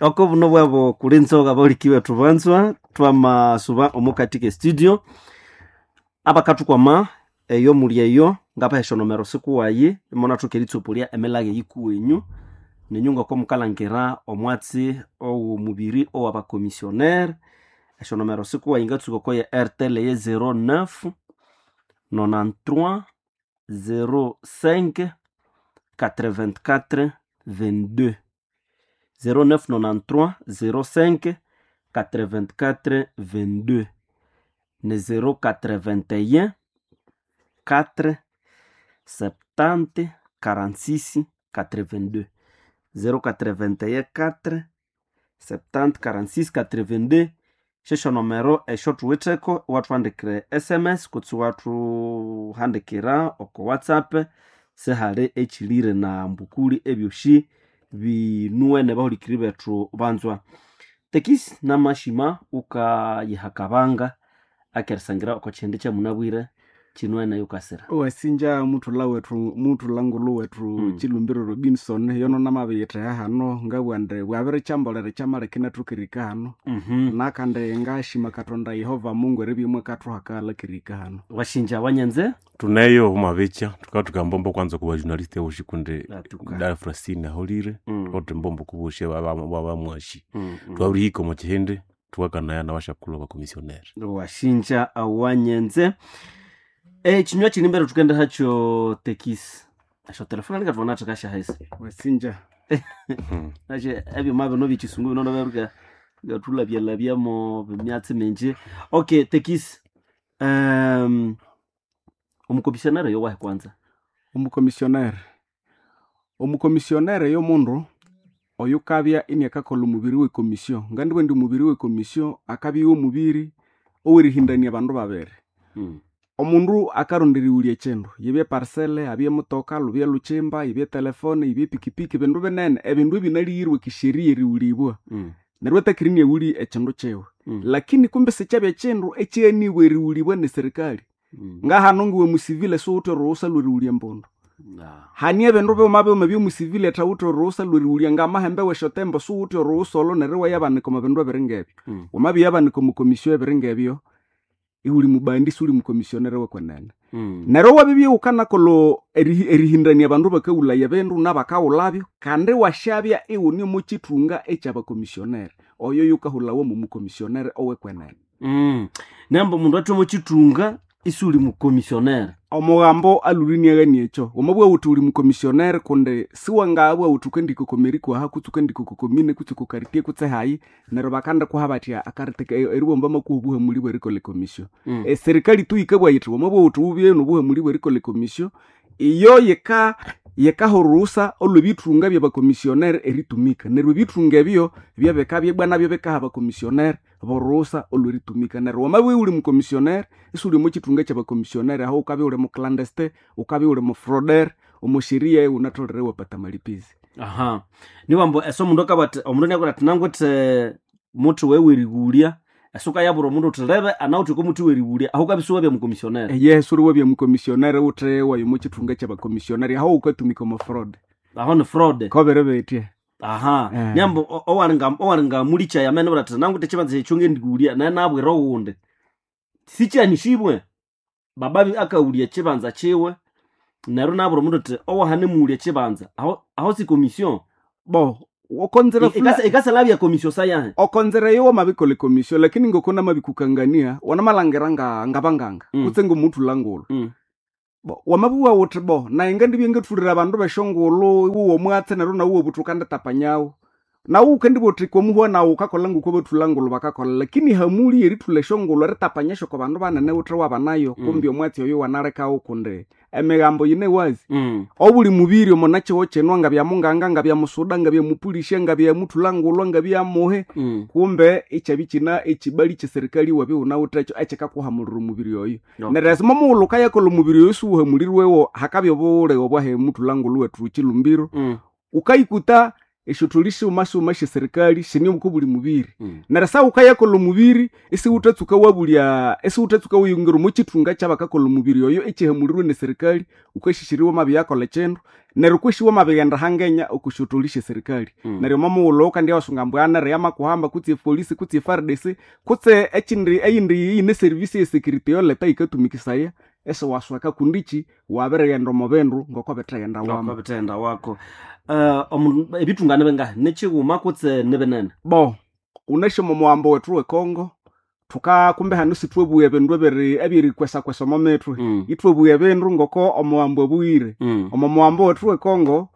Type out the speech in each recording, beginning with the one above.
Oko buno bwabo kulinzoga baulikiwe tubanzwa twamasuba omukati ke studio abakathukwama eyo muli eyo ngapahesya nomero sikuwayi imunathuka eritsopolia emilage yikuwenyu nenyu ngoko mukalangira omwatsi owomubiri owabakomissionnaire. Esyonomero sikuwayi ngatsuka oko ya Airtel ye 09 93 05 84 22, 0993 05 84 22 ne 081 4 70 46 82, 081 4 70 46 82. Syesyo nomero esyo thuwitheko iwathuhandikira SMS kutse iwathuhandikira oko WhatsApp. Sihali ekyilire na mbukuli ebyosi binuwene bahulikiriri bethu banzwa. Tekisi namashima wukayihakabanga akerisangira oko kyihindi kyamunabwire kinuwene yukasira. Wasinja muthulha wethu muthulha ngulhu wethu Chilumbiro Robinson yono namabiyittheha hano ngabugha indi bwabirikyambolera kyamaleka inathoka erihika hano. Nakandi ngashima Katonda Yehova Mungu eribya imwakathuha akaghalha kerihika hano. Wasinja wanyenze. Tuneyo omwabikya thukathuka mbombo kwanza ku bajournaliste boshi kundi Atuka. dara Francine aholire thukathutha embombo kuboshi abamwashi twabirihika omo kihindi thukakanaya nabashakulhu abakomissionnaire. Wasinja wanyenze. Ekinywa kiri mbere thukende hakyo tekisi esyo telefone ningathubona thikashahisi. Wasinja. Nashe ebyuma bino byekisungu bino nabyo bikatulabyalabyamo emyatsi mingi. Okay, tekisi omukomissionnaire yowahi kwanza? Omukomissionnaire, omukomissionnaire yomundu oyukabya iniakakolha omubiri w'ekomisio. Ngandibugha indi omubiri w'ekomisio akabya iwomubiri owerihindania abandu babiri. Omundu akaronda erighulya ekyindu, yibye parcel, abye mutoka, lubye lhukyimba, yibye telefone, yibye pikipiki, bindu binene, ebindu ebinalighirwe ekisheria erighulibwa. Neryo atakiri iniaghulya ekyindu kyiwe. Lakini kumbe sikyabya ekyindu ekyaghanibwe erighulibwa neserikali. Ngahano ngiwe musivile siwuwithe orughutsa lwerighulya embundu. Hane ebindu bighuma bighuma ebyomusivile athawithe orughutsa lwerighulya ngamahembe wesyotembo siwuwithe orughutsa olho neryo iwayabanika omo bindu ebiri ngebyo. Wamabyayabanika omo komisyo ebiri ngebyo, iwuli mubandi siwuli mukomissionnaire wekwenene. Neryo wabibya iwukanakolha erihindania abandu bakaghulhaya ebindu nabakaghulhabyo kandi iwasyabya iwune omo kyithunga ekyabakomissionnaire. Oyo yukahulhawa mwomukomissionnaire owekwenene. Nemba omundu athe omo kyithunga isiwuli mukomissionnaire. Omughambo alhwire iniaghania ekyo. Wamabugha wuthi wuli mukomissionnaire kundi siwangabugha wuthi wukandihika oko meri kwaha kutse wukandihika oko komine kutse oko quartier kutse hayi neryo bakandikuha bathya akarite eribugha ambu bamakuha obuhamuli bwerikolha ekomisio. Eserikali tu yikabugha yithi wamabugha wuthi wubye nobuhamuli bwerikolha ekomisio, iyo yika yikaha orughutsa olwebithunga byabakomissionnaire eritumika. Neryo ebithunga ebyo byabikabya ibwa nabyo bikaha abakomissionnaire borughutsa olweritumika. Neryo wamabya iwuli mukomissionnaire isiwuli omo kyithunga kyabakomissionnaire aho wukabya iwuli muclandestin, wukabya iwuli mufraudeur, omo sheria iwunatholere iwapata amalipizi. Aha, niwambu ese omundu akabugha athi omundu iniabwira athi nangwithe muthi wewe werighulya, ese wukayabwira omundu wuthi lebe anawithe oko muthi werighulya, aho wukabya isiwabya mukomissionnaire. Eyehe siwuli wabya mukomissionnaire wuthe waya omo kyithunga kyabakomissionnaire aho wukatumika omo fraud. Aho ni fraud. Kobere betya. Aha, niambu owalinga mulikyaya amene ibwira athi nangwithe ekyibanza ekyo ngendighulya naye nabwira owundi. Sikyanishibwe, baba akaghulya ekyibanza kyiwe neryo inabwira omundu athi owahanemughulya ekyibanza aho, aho si commission. Bo, okonzera Ikasalabya commission sayahe. Okonzera eyo wamabikolha ekomisio lakini ngoko namabikukangania wanamalhangira ngabanganga kutse ngomuthulha ngulhu. Bo wamabugha wuthi bo nayi ngandibya ngathulira abandu besyongulhu iwuwa omwatsi neryo nawu iwabugha wuthi wukanditapanyawu. Nawu wukandibugha wuthi komuhwa nawu wukakolha ngoko abathulha ngulhu bakakolha lakini hamuli erithulha esyongulhu eritapanya syoko bandu banene wuthe wabanayo kumbi omwatsi oyo iwanalekawo kundi emighambo yine wazi. Obuli mubiri omo nakyihugho kino ngabya munganga, ngabya musuda, ngabya mupulisya, ngabya muthulha ngulhu, ngabya muhi kumbe ikyabya ikyina ekibali kyeserikali iwabya iwunawithekyo ekyikakuhamulira omubiri oyo. Neryo esimo mughulhu wukayakolha omubiri oyo isiwuhamulirwewo hakabya obulighe obwahe muthulha ngulhu wethu Chilumbiro. Wukayikuta Esyotholi sighuma sighuma syeserikali sine oko buli mubiri. Neryo sawuka yakolha omubiri isiwuthatsuka wabulya, isiwuthatsuka wiyingira omo kithunga kyabakakolha omubiri oyo ekyihamulirwe neserikali. Wukasyisyira wamabyakolha ekyindu, neryo kwesi wamabighenda hangenya oko syotholi syeserikali. Neryo omo mughulhu wukandya wasunga ambu anere yamakuhamba, kutse epolisi, kutse e FARDC, kutse ekyindi, eyindi eyine service eye security eyoleta yikatumikisaya, isiwasweka kundi kyi wabirighenda omo bindu ngoko bitheghendawamo. Ngoko bithegenda wako. Omundu ebithunga nibingahi, nikyighuma kutse nibinene? Bo wunasi omo muhambo wethu wekongo thuka kumbe hanu sithwabugha ebindu ebyerikwesakwesa omo mithwe. Ithwabugha ebindu ngoko omuhambo abughire. Omo muhambo wethu wekongo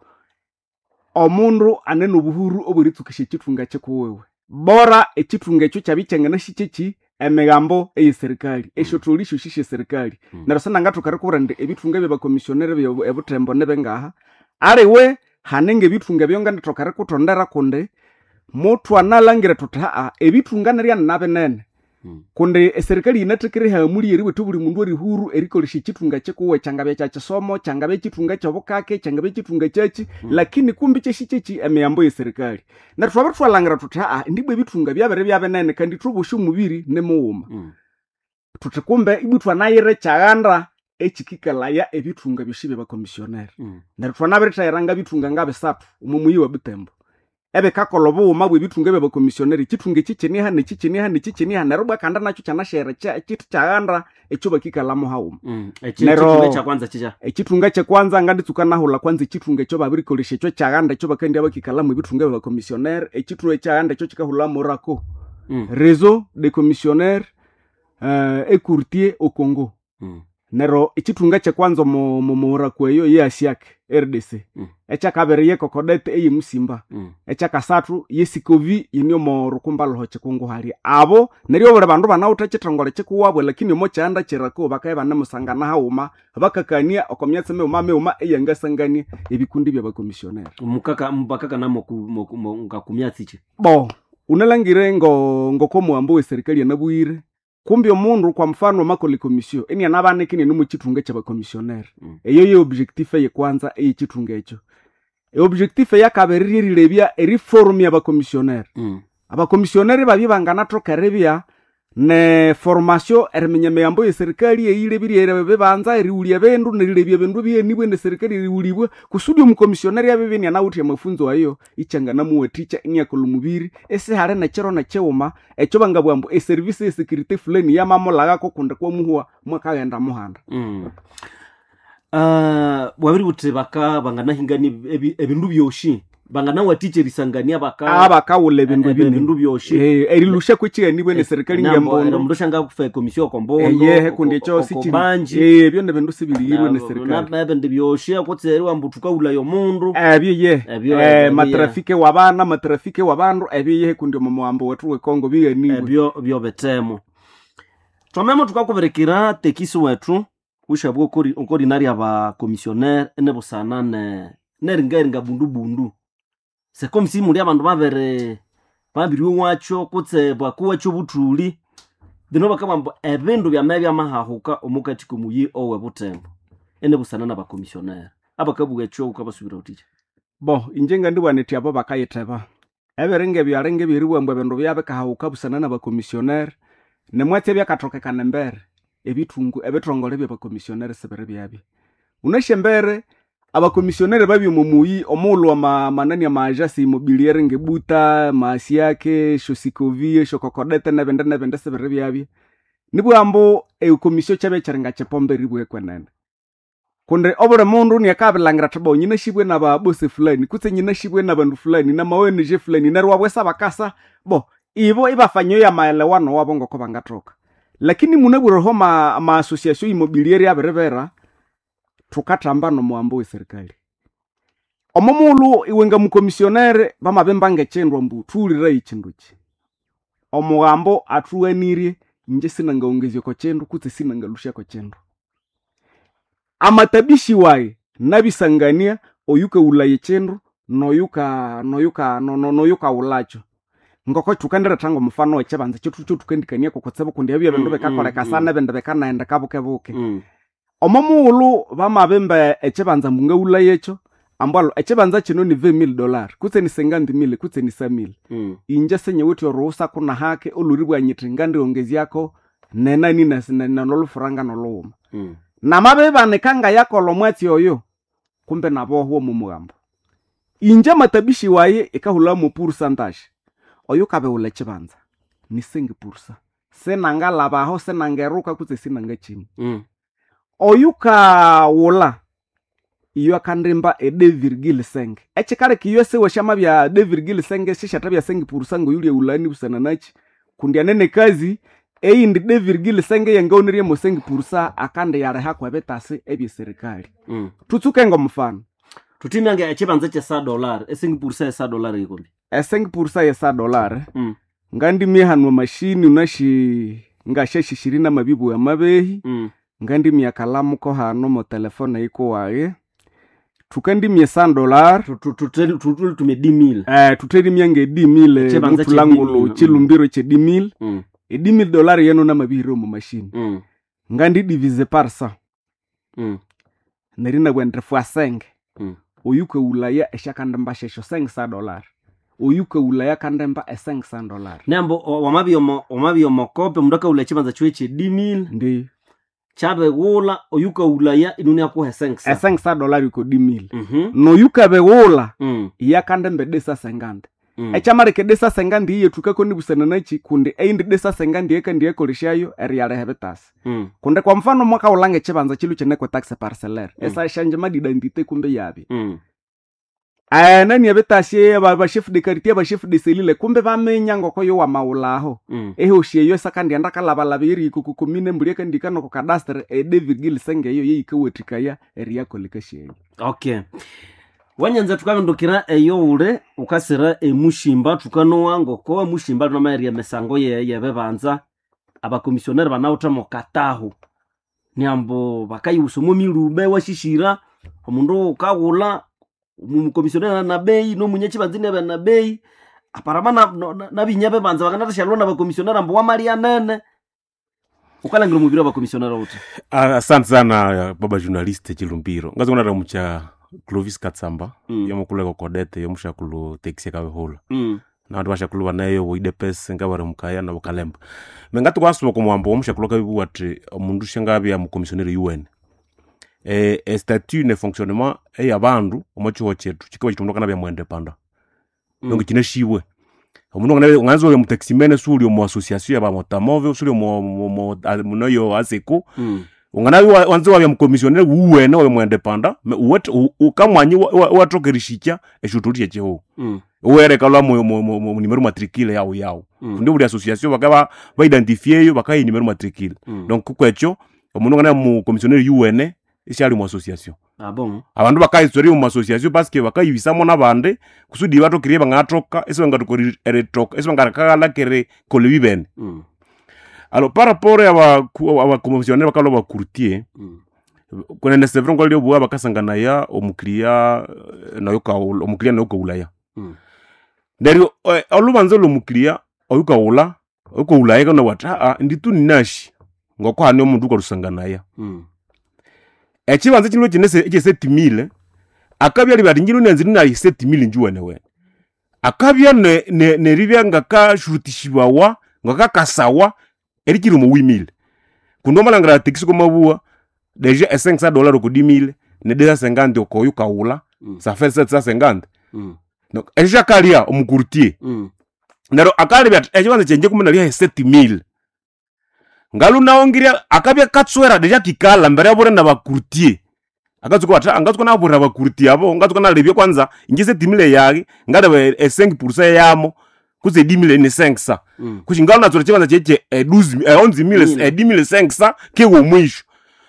omundu ane nobuhuru obweritsukisya ekyithunga kyikuwiwe, bora ekyithunga ekyo kyabya ikyanganasikye emigambo eyeserikali, esyotholi syosi syeserikali. Neryo sinangathoka erikubwira indi ebithunga byabakomisionere ebuthembo nibingaha, aliwe hane ngebithunga ebyo ngandithoka erikuthondera kundi muthwanalhangira thuthi haa, ebithunga nirya ninabinene. Kundi eserikali yinathekere ihamuli eribwetha obuli mundu erihuru erikolesya ekyithunga kyikuwe, kyangabya kyakyisomo, kyangabya kyithunga kyobukake, kyangabya kyithunga kyakyi, lakini kumbi kyasikye emihambo eyeserikali. Neryo twabirithwalhangira thuthi haa, indibwa ebithunga byabiribya binene kandi ithwe bosi omubiri nimughuma. Thuthi kumbe ibwa ithwanayira ekyaghanda ekyikikalaya ebithunga byosi byabakomisionere. Neryo thwanabirithayira ngabithunga ngabisathu omo muyi wa Butembo, ebikakolha obughuma bwebithunga byabakomisionere. Ekyithunga ekyi kiniha, nekyi kiniha, nekyi kiniha, neryo ibwa kandi nakyo kyanasyera ekyithi kyaghanda ekyo bakikalhamu haghuma. Neryo Ekyithunga kyakwanza kikya? Ekyithunga kyekwanza nganditsuka nahulha kwanza ekyithunga ekyo babirikolesya ekyo kyaghanda ekyo bakandya bakikalhamu ebithunga byabakomisionere. Ekyithunga ekyaghanda ekyo kikahulha morako, Réseau des commissionnaires et courtiers au Congo. Neryo ekyithunga kyekwanza omo morako eyo ye ASIAC RDC. Ekyakabiri ye Kokodete eye Musimba. Ekyakasathu ye Sikovi yine omo Rukumba Lhuho Kyikungu halya. Abo neryo obuli bandu banawithe ekyithongole kyikuwabo, lakini omo kyanda kyerako bakabya ibanemusangana haghuma, bakakania oko myatsi mighuma mighuma eyangasangania ebikundi byabakomisionere. Mukaka bakakana ngakumyatsi kyi? Bo wunalhangire ngoko omuhambo weserikali anabughire, kumbi omundu kwa mfano amakolha ekomissio inianabanika iniane omo kyithunga kyabakomisionere. Eyo ye objectif eyekwanza eyekyithunga ekyo. Eobjectif eyakabiri ryerilebya eriformia abakomisionere. Abakomisionere babya ibanganathoka eribya ne formation eriminya emihambo eyeserikali eyilebirye ebibanza, erighulya ebindu, nerilebya ebindu ebighanibwe neserikali erighulibwa, kusudi omukomisionere abibya inianawithe amafunzo ayo, ikyanganamuwathikya iniakolha omubiri isihali nekyiro nekyighuma ekyo bangabugha ambu eservice eyesecurity fulani yamamulhaghako kundi kwamuhwa mwakaghenda muhanda. Wabiributhi baka banganahingania ebindu byosi, banganawathikya erisangania baka abakawulha ebindu ebinene. Ebindu byosi. Erilusha kwekyighaniwe neserikali ngembondo. Omundu syangafa ekomissio okombondo, Eyehe, kundi ekyo sikyi- okobanji. Ebyo nebindu sibiliyirwe neserikali. Nebindi byosi kutse eriwamba thukawulaya omundu. Ebyo ye. Ebyo, ebyo, Matrafike wabana, matrafike wabandu, ebyo yehe kundi omo muhambo wethu wekongo bighanibwe. Ebyo byobithemo. Twamemo thukakubirikira tekisi wethu wishabwa okorinarya abakomisionere enebusana neringaringa bundu bundu. Sekomisi muli abandu babiri babiriwakyo kutse bwakuwakyo obuthuli, bino bakabugha ambu ebindu byamabya byamahahuka omukati komuyi owe Butembo enebusana nabakomisionere. Abakabugha ekyo wukabasubira wuthikya? Bo inje ngandibugha nithi abo bakayitheba. Ebiringa ebyo alinga ebyeribugha ambu ebindu byabikahahuka busana nabakomisionere, nemwatsi ebyakathokekana embere, ebithungu ebithongole byabakomisionere sibiri byabya. Wunasi embere abakomisionere babya omo muyi omughulhu amanani ama agence immobiliere ngebuta, maasiake, esyosikovi, esyokokodete nebindi nebindi sibiri byabya. Nibugha ambu ekomissio kyabya kyiringa kyipombe eribugha ekwenene. Kundi obuli mundu niakabilhangira athi bo nyinasibwe nababose fulani kutse nyinasibwe nabandu fulani nama ONG fulani, neryo wabwesa bakasa bo ibo ibafanya yamaelewano wabo ngoko bangathoka. Lakini munabwireho ma association immobiliere abiribera, thukathamba nomuhambo weserikali. Omo mughulhu iwe ngamukomisionere bamabimba ngekyindu ambu thuwuliraye ekyindu kyi. Omughambo athughanirye inje sinangawongezya oko kyindu kutse sinangalusya oko kyindu. Amatabishi wayi nabisangania oyukawulaya ekyindu noyukawulakyo. Ngoko thukandiretha ngomufano wekyibanza kyethu kyothukandikania kutsibu kundi ebyo ebindu bikakoleka sana ebindi bikanaghenda bukebuke. Omo mughulhu bamabimba ekyibanza ambu ngawulaya ekyo, Ambwalo ekibanza kino ni $20,000 kutse ni 50,000 kutse ni 100,000. Inje sinyewithe oruhusa kunahake oluribwa nyithi ngandiongezyako nenani nanolufuranga nolughuma. Namabibanika ngayakolha omwatsi oyo kumbe nabohwa omo mughambo. Inje amatabishi wayi ikahulha pourcentage. Oyo kabighulha ekibanza ni 5%. Sinangalhabaho sinangeruka kutse sinangakina. Oyukaghulha iyo akandimba e 2,5. Ekikaleka iyo siwashamabya 2,5 sishathabya 5% ngoyulyaghulhani busana naki? Kundi anene kazi eyindi 2,5 eyangawonirye mo 5% akandiyalihako ebitasi ebye serikali. Tutsuke ngomufano. Tutimyange ekibanza kye $100 e 5% ye $100 yikombi. E 5% ye $100 ngandimye hanu amashini unashi ngashashishiri namabibu amabehi. Ngandimye akalamu ko hano mo telefone yikuwaye. Tukandimye $100 Tutume 10,000. Tuterimye nge 10,000 Ekibanza kye mutulangulo 10,000. chilumbiro kye 10,000. E $10,000 yeno namabihire omu mashini. Ngandi divise par 100. Neryo inabugha indi fois 5. Oyukaghulhaya esyakandimba syesyo $500. Oyukaghulhaya akandimba e $500. Nembo wamabya omokope omundu akaghulha ekibanza kiwe kye 10,000. Ndiyo. Kyabighulha oyukaghulhaya inuni akuha e 500. E $500 iko 10,000. Noyukabighulha iye akandimba e 250. Ekyamaleka e 250 iyethukako nibusana naki kundi eyindi 250 eyakandiyakolesyayo eriyaliha ebitasi. Kundi kwa mfano mwakaghulha ngekibanza kilwe kine kwe taxe parcellaire. Esyangima d'identité kumbe yabya. Nani ebitasi aba chef de quartier aba chef de cellule kumbe baminya ngoko yo wamaghulhaho. Ehosi eyo esakandighenda kalabalaba erihika oko commune embuli akandihika noko cadastre e 2,5 eyo yeyikawathikaya eriyakolekasya eyo. Okay. Wanyanza tukabindukira eyo ule ukasira emushimba tukanowa ngoko emushimba tunamayerya emisango yebibanza abakomisioneri banawithe mukatahu niambo bakayiwusa omo milube washishira omundu ukaghulha omukomisioneri na bei nomunyakibanza inabya na bei aparama nabinya bebanza bakanathasyalwa nabakomisioneri ambu wamalya nene ukalangira omubiri wabakomisioneri uthi. Asante sana baba journaliste Chilumbiro. Ngazonara mucha Clovis Katsamba yomukuleko kodete yomushakulu taxi akabihula. Nabandu bashakulu banayo boidepes ngabari mukaya nabo kalemba. Mengati kwasuba kumuhambo omushakulu akabibuwa ati omundu shangabya mukomisioneri UN. E statut ne fonctionnement eyabandu omo chiho chetu chikaba chitundu kanabya muindependa. Donc kinashibwe. Omundu nganzo ya mutaximene suli omu association ya bamotamove suli omu munoyo aseko. Unganabi wanze wabya mukomisioneri wuwene wabe muindependa ukamwanyi watokerishikya eshutulisha chechiho. Uwereka lwa mu numero matricule yawo yawo. Kundi buli association bakaba baidentifieyo bakayi numero matricule. Donc kukwekyo omundu ngana mu commissionnaire UN isyali mu association. Ah bon. Abandu bakayitswera mu association parce que bakayibisamo nabandi kusudi batokire bangatoka ese bangatukori eretoka ese bangarakala kere kolebi bene. Alors par rapport aba aba commissionnaire bakalo ba courtier kunene c'est vrai ngolyo bwa bakasangana ya omukiriya nayo ka omukiriya nayo kaulaya. Neryo olubanza lw'omukiriya oyukaghulha oyukaghulhaya kana wati aa nditu ninashi ngokuhane omundu ukalusanganaya. Ekibanza kino kine ekye 7,000 akabya libya ati ngino nanzi ninayi 7,000 njuwenewene. Akabya neribya ngakashurutishibawa ngakakasawa erikiri omu 8,000. Kundi wamalhangira taxi komabuwa deja e $500 oko 10,000 ne 250 oko oyukaghulha ça fait 750. Donc ekyo kyakalya omucourtier. Neryo akalebya athi ekibanza kyangye kumbe nalyaha 7,000. Ngalunawangirya akabya katswera deja kikalha mbere abure nabacourtier. Akatsuka athi ngatsuka nabwira abacourtier abo ngatsuka nalebya kwanza inje 7,000 yaghe ngaleba e 5% yamo kutse 10,000 ni 500. Kushi ngalunatswera ekibanza kyekye e 12 11,000 e 10,500 kiwa omwisho.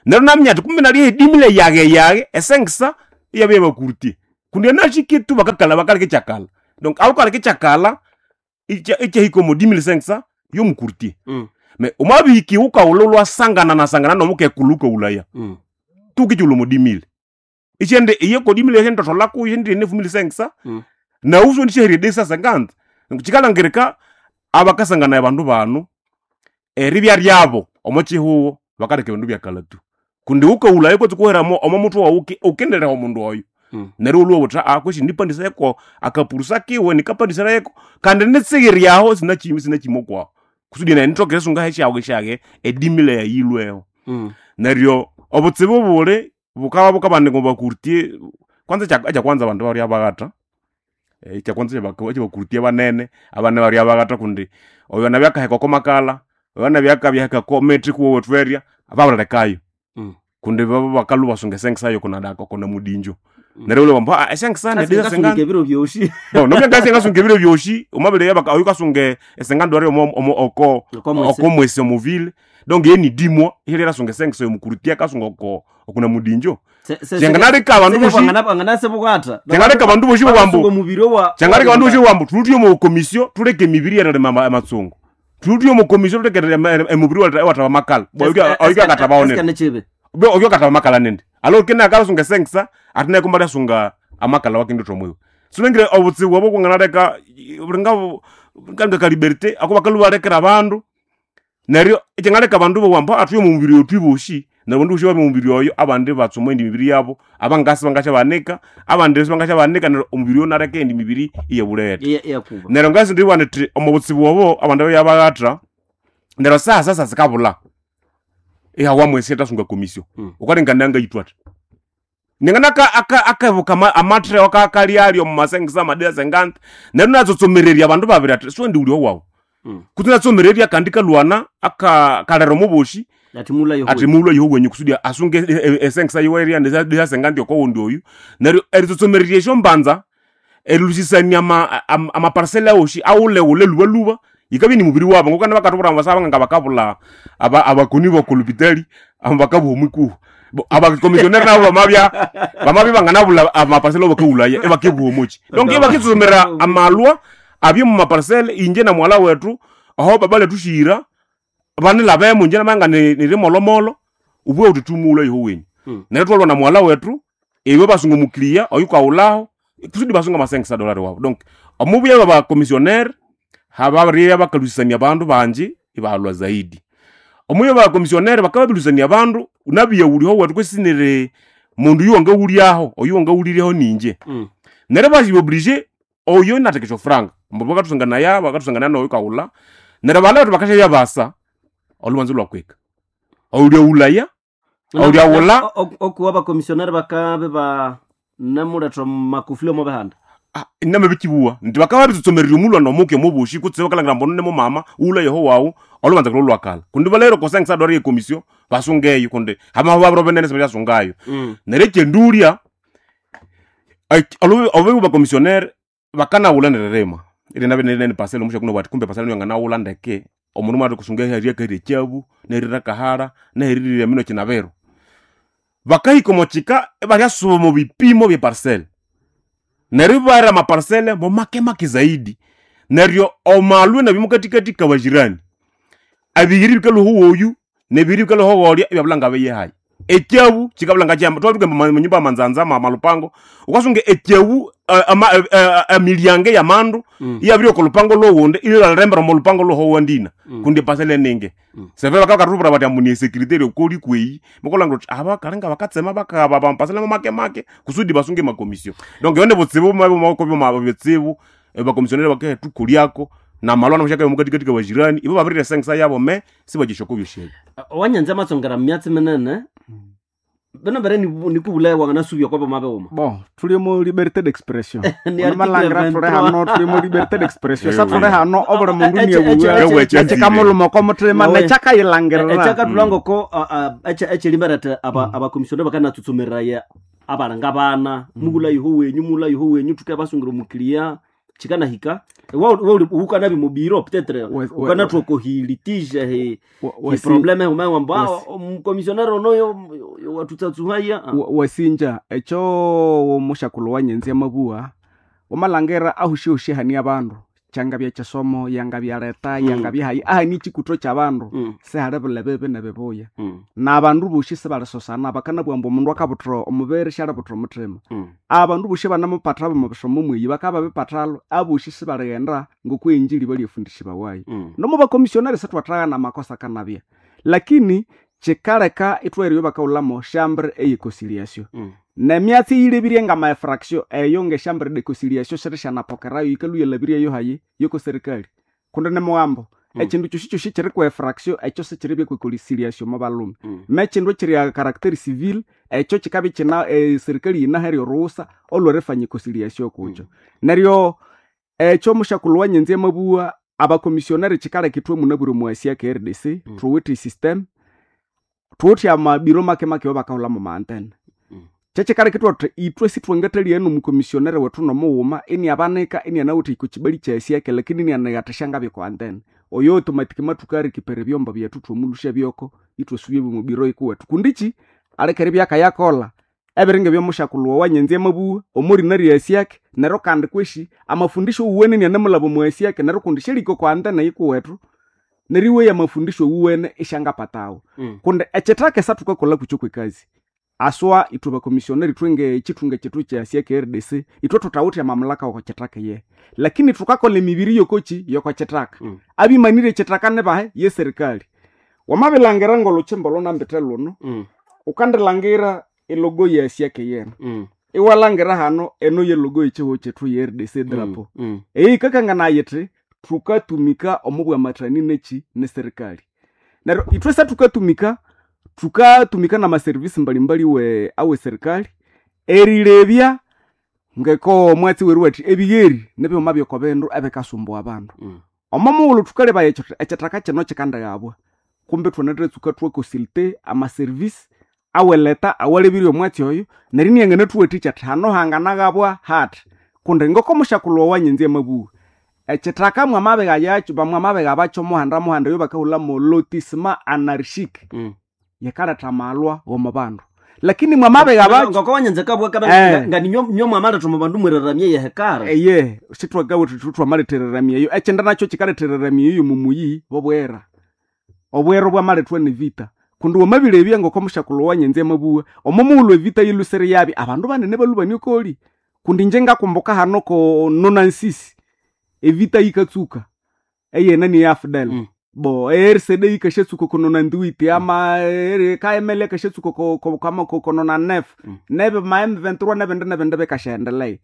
Neryo naminya athi kumbe nalyaha 10,000 yaghe yaghe e 500 iyabya yabacourtier. Kundi enashikitu bakakalha bakaleka ekyakalha. Donc alukaleka ekyakalha ikyahika omo 10,500 yomucourtier. Me omwabihiki wukaghulha lwasangana nasangana nomukekulhu wukaghulhaya. Tukikyulha omo 10,000. Isyende iye ko 10,000 isyendithatholako isyendire ne 5,500 nawu isyondi 250. Kikalhangirika abakasanganaya abandu banu eribya ryabo omo kihugho bakaleka ebindu byakalha tu. Kundi wukaghulhaya kwatsi kuhera omo muthwe wawu ukendireha omundu oyo. Neryo olhuwa wuthi kweshi nipandisayeko akapurusa kiwe nikapandisirayeko kandi nitsigiryaho sinakimi okwaho kusudi nayi nithoke erisunga hesyawe syage edimile yayilweho. Neryo obutsibu buli bukaba bukabanika omu bacourtier kwanza ekyakwanza abandu barya baghatha, ekyakwanza ekyabacourtier banene abane barya baghatha kundi oyo nabya akaheka oko makala, oyo nabya akabyaheka oko mithi kuwowethu erya babirilekayo. Kundi baba bakalhwa ibasunga esengisa yoko namudinjo. Neryo ibalhwa bambu esengisa nedisa Singasunika ebiro byosi. Bo nobya ngasi ngasunga ebiro byosi omabere oyu kasunga esengandwere oko Oko mwesi. oko mwesi omuvile donc ye ni dimwa ihali erasunga esengisa yomukurutia akasunga oko okunamudinjo. Kyanganaleka abandu bosi Wanganasebukatha. Kyangaleka abandu bosi bambu Omubiri wa kyangaleka abandu bosi bambu thulutye omu komisio thuleke emibiri erilima amatsungu, thulutye omu komisio thuleke emubiri ewathaba amakala oyu akathabawo nene Chibe. Oyo akataba amakala nende alo kene akalasunga esengisa ate naye kumba lyasunga amakala wakinditha omwiwe. Sulengire obutsibu obo kwanganaleka bulinga kanga ka liberté ako bakalhu balekera abandu neryo ekyangaleka abandu bowa athuye omu mubiri oyo thwibosi neryo abandu bosi babya omubiri oyo abandi batsuma endi mibiri yabo abangasi bangasyabanika abandi sibangasyabanika neryo omubiri oyo naleka endi mibiri iyabulete. Iyakuba. Neryo ngasi ndibugha nithi omu butsibu obo abandu babya baghatha neryo saha sasa sikabulha ihawamu esente asunga komisio. Ukalengana ngayithwa athi ningana akebuka amatheo akakalyalya omu masengisa amadira sengante neryo natsotsomererya abandu babiri athi siwendi ulya owawu. Kutse natsomererya kandi kalwana kalera omuboshi. Ati mula yohu. Athi mulwa yohu wenyu kusudi asunge esengisa yiwerya ndisa sengante okowundi oyu neryo eritsotsomererya esyombanza erilusisania amaparcela awosi awulewule lubaluba yikabya ni mubiri wabo ngokana bakatubwira ambu basaba nga bakabulha abakoni bokolupitali abo bakabuha omwikuhu. Abakomisioneri nabo bamabya banganabulha amaparcela abakawulaya ibakebuha omoki donc ibakitsutsumira amalwa abye mu maparcela inje na muwalha wethu aho baba lethushira banilhabemu inje namanga nirimolomolo ubughe wuthi thumulha yoho wenyu. Neryo thwalwa na muwalha wethu iwe basunga omukiliya oyukawulhaho kusudi basunga amasengisa dolari wabo donc omubuya babakomisioneri hababiribya bakalusisania abandu bangi ibahalwa zaidi omubuya babakomisioneri bakababirusania abandu nabiya wuliho wethu kwesinire mundu oyu wangawulyaho oyu wangawuliryeho ninje. Neryo basiba obligé oyo inatheka esyofuranga ambu bakathusanganaya bakathusanganaya noyu kawulha neryo balha bethu bakasyabya basa olhubanza olwakwika olyawulaya olyawulha. Okuwa abakomisionari bakabe ba namuletha makufuli omo bihanda. Inamabikibuwa nti bakaba babitsotsomererya omulwana omuke omubushi kutse bakalangira ambu ono nimumama wulha yoho wawu olhubanza kulho lwakalha kundi balere kosengisa dwari yekomisio basungeyo kundi hamaho babiro binene sibasyasungayo. Neryo ekyendulya obu bakomisionere bakanawulha neririma irinabya pasela omushaku nobwati kumbe pasela yanganawulha ndeke omundu mwatha kusunga ehali akahira ekyabu nerira kahala neheririra emino kinabiro bakahika omo kika ibalyasuba omu bipimo bye parcela neryo ibaghera amaparcele mo make make zaidi neryo omalwe nabyo mukathikathi kabajirani ebiyiri bikalhwa owoyu nebiyiri bikalhwa owolya ibyabulha ngabiyihayi ekyabu kikabulha ngakyamba twathuka munyumba amanzanza malupango wukasunga ekyabu emilyango eyamandu iyabirya oko lupango lowundi ilalirembera omo lupango lwohowandina kundi epasela eningi. Seve bakakathubwira bathi ambu ni esecurity eryokoli kweyi mukalhangira wuthi aba kalinga bakatsema bakaba bamapasela make make kusudi basunge emakomisio donc eyo nibutsibu bumabya bitsibu abakomisioneri bakethukolyako namalwa namusyakabya mukathikathi kabajirani ibo babirira esengisa yabo me sibagyisya byosi ebyo. Wanyanza amatsongera myatsi minene bino mbere nikubulaya wanganasubya kwabo mabewuma. Bon, tuli mu liberté d'expression. Ni article Onomalhangira tuli 23. hano tuli mu liberté d'expression sa tuli hano obuli mundu Eche- niewuwe eche- ekikamuluma oko muthima Nawe. nekyakayilangirira. Ekyakathulangoko ekyelimberete abakomisioneri bakanatsutsumiraye abalanga bana mubula yoho wenyu mula yoho wenyu thuke basungira omukiliya chikanahika ukanabya mubiro peut-être ukanathuka hi litige hi hi probleme humewamba omukomisioneri ono wathutsatsuhaya. Wasinja ekyo mushakulhu wanyenzi amabuwa wamalhangira ahushihushi hania abandu kyangabya kyisomo yangabya leta yangabya hayi ahani ekikutho kyabandu sihali buli bibi nebibuya nabandu bosi sibalisosana bakanabugha ambu omundu akabuthira omubiri syalibuthira omuthima. Abandu bosi banamupatha bamabisoma mweyi bakabya babipathalho abosi sibalighenda ngokwe enjili balyafundisibawayo. Nomo bakomisionari sithwathagana amakosa akanabya lakini Kikaleka itwahererya bakaghulamo chambre eye conciliation. Nemyatsi eyilebirye ngama infraction eyo nge chambre de conciliation sirisyanapokerayo, yikalwa iyalabiryeyo hayi yoko serikali, kundi nimugambo ekindu kyosi kyosi ekiri kwa infraction ekyo sikiribya kwe conciliation mo balhume. Nekindu ekiri a caractère civil ekyo kikabya kina serikali yinaherya orughutsa olwerifanya conciliation kukyo. Neryo ekyo mushakulhu wanyenzi amabugha abakomisionari, kikaleka ithwe munabwire omwasi aka RDC thuwithe esystem, thuwithe amabiro make make awabakahulhamu ma antenne. Kyekikaleka ithwathuthi ithwe sithwangathalya nomukomisionari wethu nomughuma iniabanika inianawithe oko kibali kyasiake, lakini inianighathisya ngabya oko antenne oyo automatic mathukarecupera ebyombo byethu thwamulusya byoko, ithwasubya byomo biro ikuwethu, kundi ki aleka eribya akayakolha ebiringa ebyomushakulhu owanyenzi amabugha omorina ryasiake. Neryo kandi kweshi amafundisho wuwene inianamulhaba omwasiake, neryo kundi syalika oko antenne yikuwethu, neryo iweya amafundisho wuwene isyangapatawo. Kundi ekithaka esathukakolha kukyo kwekazi aswa ithwe bakomisionari, ithwe ngekithunga kyethu kyasiake RDC, ithwe thuthawithe amamulaka woko kithaka ye, lakini thukakolha emibiri yokoki yoko kithaka. Abimanire ekithaka nibahe? Ye serikali. Wamabilangira ngolhukyimba olhunambite lhuno, ukandilangira elogo yasiake yene, iwalangira hano eno yelogo yekihugho kyethu ye RDC drapeau. Eyi yikakanganaya yithi thukatumika omo bwamathani neki neserikali. Neryo ithwe sathukatumika, thukatumika namaservice mbalimbali we awe serikali erilebya ngeko omwatsi weru athi ebigheri nibighuma byoko bindu ebikasumbua abandu. Omo mughulhu thukalebaya ekyo ekithaka kino kikandighabwa, kumbe thwanathatsuka thwaconsulte amaservice aweleta awalebirye omwatsi oyo, neryo inianganathuwathikya athi hano hanganaghabwa hathi, kundi ngoko mushakulhu owanyenzi amabugha ekithaka mwamabigha yakyo, bamwamabigha muhanda muhanda eyo bakahulhamu lotissement anarchique, yikaletha amalwa omo bandu, lakini mwamabigha bakyo Ngoko wanyenze kabwa kabe nga ninyo mwamaletha omu bandu mweraramye yehekara. Eye, sithwagawe thwamalethereramya eyo. Ekyindi nakyo kikalethereramya eyo mumuyi bobwera obwera obwamalethwa nevita, kundi wamabilebya ngoko mushakulhu wanyenzi amabugha omo mughulhu evita yilhusire yabya abandu banene balhubania okoli, kundi inje ngakumbuka hano ko 96 evita yikatsuka eyenani ya AFDL. Bo RCD yikashatsuka ko 98 ama KML yakashatsuka ko 99 nebe ma M23 nebindi nebindi bikashaendelea.